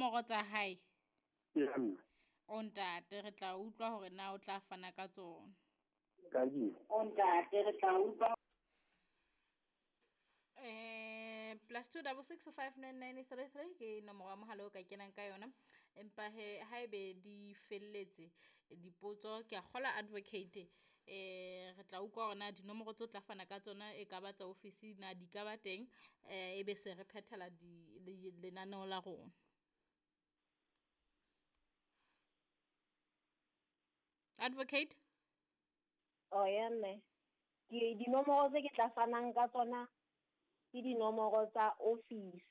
Dinomoro tsa hae? Ya mme. O ntate, re tla utlwa hore na o tla fana ka tsona. Ka di. O ntate, re tla utlwa. +2 66 5 9 9 3 3 ke nomoro ya mohala o ka kenang ka yona. Empa he haebe di felletse dipotso, ke a kgola advocate, re tla utlwa hore na dinomoro tse o tla fana ka tsona e ka ba tsa ofisi na di ka ba teng, ebe se re phethela lenaneo la rona. Advocate? Oh ya mme, ke dinomoro tse ke tla fanang ka tsona ke dinomoro tsa office.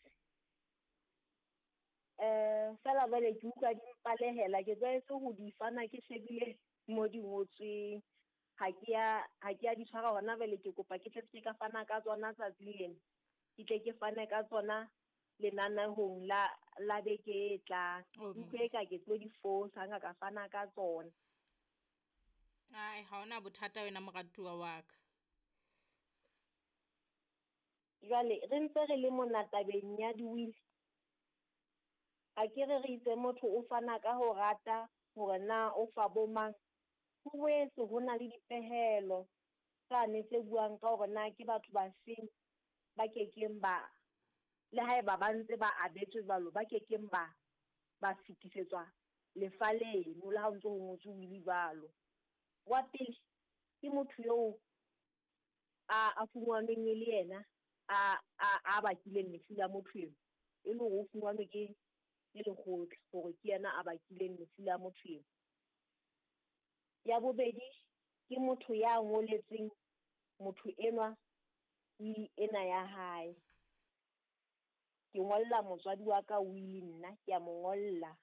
Fela jwale ke utlwa di mpalehela, ke tlwaetse ho di fana ke shebile mo di ngotsweng. Ha ke ya di tshwara hona jwale, ke kopa ke tle ke ka fana ka tsona tsatsi lena. Ke tle ke fane ka tsona lenanehong la beke e tlang. Utlwe ka ke tlo di fosa ha ka fana ka tsona. Ai, ha hona bothata wena moratuwa wa ka. Jwale re ntse re le mona tabeng ya di-will. A ke re re itse motho o fana ka ho rata hore na o fa bo mang. Ho boetse ho na le dipehelo tsane tse buang ka hore na ke batho ba feng ba kekeng ba, le haeba ba ntse ba abetswe jwalo, ba kekeng ba fetisetswa lefa leno le ha o ntso ho ngotswe will jwalo. Wa pele ke motho eo a fumanweng e le yena a bakileng lefu la motho eno, e le hore o fumanwe ke lekgotla hore ke yena a bakileng lefu la motho eno. Ya bobedi ke motho ya ngoletseng motho enwa will ena ya hae. Ke ngolla motswadi wa ka will nna, ke a mo ngolla.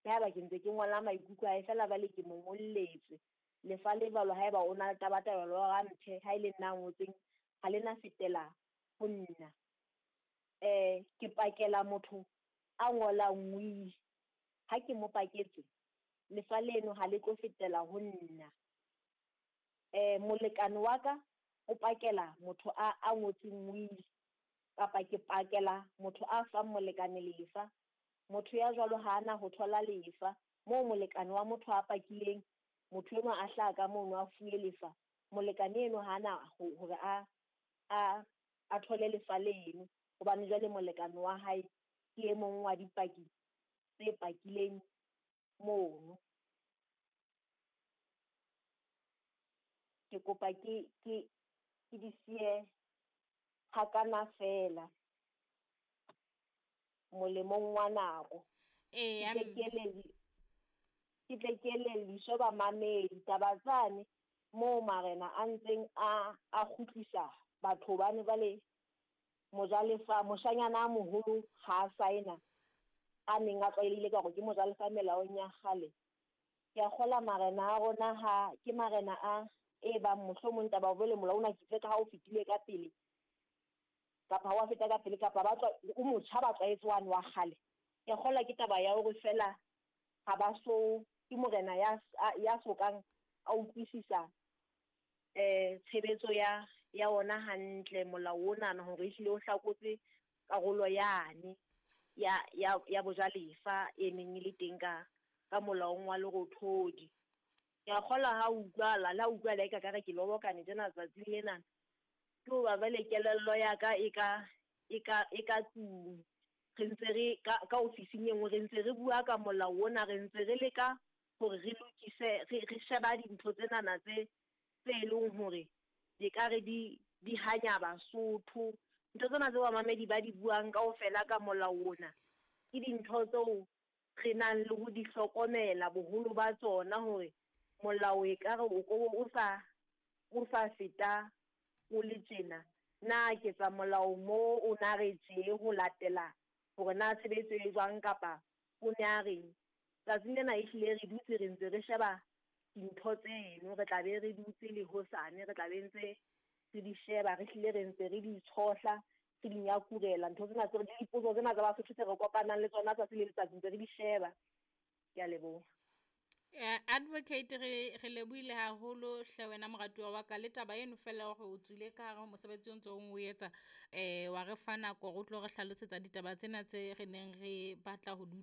Le haeba ke ntse ke ngola maikutlo a hae fela jwale ke mo ngolletse. Lefa le jwalo haeba o na le tabatabelo ya hore a mphe, ha e le nna a ngotseng, ha le na fetela ho nna. Ke pakela motho a ngolang will. Ha ke mo paketse, lefa leno ha le tlo fetela ho nna. Molekane wa ka o pakela motho a ngotseng will, kapa ke pakela motho a fang molekane lefa. Motho ya jwalo ha ana ho thola lefa. Moo molekane wa motho a pakileng, motho enwa a hlaha ka mono a fuwe lefa, molekane eno ha ana hore a thole lefa leno, hobane jwale molekane wa hae ke e mong wa dipaki tse pakileng mono. Ke kopa ke di siye hakana fela molemong wa nako. Ke tle ke elelliswe bamamedi taba tsane moo marena a ntseng a kgutlisa batho bane ba le mojalefa, moshanyana a moholo ha a saena a neng a tlwaelehile ka hore ke mojalefa melaong ya kgale. Ke a kgola marena a rona ha ke marena a e bang mohlomong taba jwale molao ona ke itse ka ha o fetile ka pele kapa ha wa feta ka pele kapa ba o motjha ba tlwaetse wane wa kgale. Ke a kgola ke taba ya hore fela ha ba so ke morena ya sokang a utlwisisa tshebetso ya ona hantle molao ona hore ehlile o hlakotse karolo yane ya bojalefa e neng e le teng ka molaong wa Lerothodi. Ke a kgola ha utlwala, le ha utlwala e ka re ke lobokane tjena tsatsing lena. Ke hoba jwale kelello ya ka e ka tlung. Re ntse re ka ofising e nngwe re ntse re bua ka molao ona, re ntse re leka hore re lokise, re sheba dintho tsenana tse leng hore di ka re di hanya Basotho. Ntho tsena tseo bamamedi ba di buang kaofela ka molao ona ke dintho tseo re nang le ho di hlokomela boholo ba tsona, hore molao e ka re o ko o sa feta o le tjena. Na ke tsa molao mo o na re tje ho latela hore na tshebetso e jwang kapa o ne a reng. Tsatsing lena ehlile re dutse re ntse re sheba dintho tseno, re tla be re dutse le hosane, re tla be ntse re di sheba, re hlile re ntse re di tshohla, re di nyakurela ntho tsena tse le dipotso tsena tsa Basotho tse re kopanang le tsona tsatsi le letsatsi ntse re di sheba. Ke a leboha. Advocate, re lebohile haholo hle wena moratuwa wa ka le taba eno fela hore o tswile ka hare ho mosebetsi o ntso o etsa, wa re fa nako hore o tlo re hlalosetsa ditaba tsena tse re neng re batla ho di utlwa.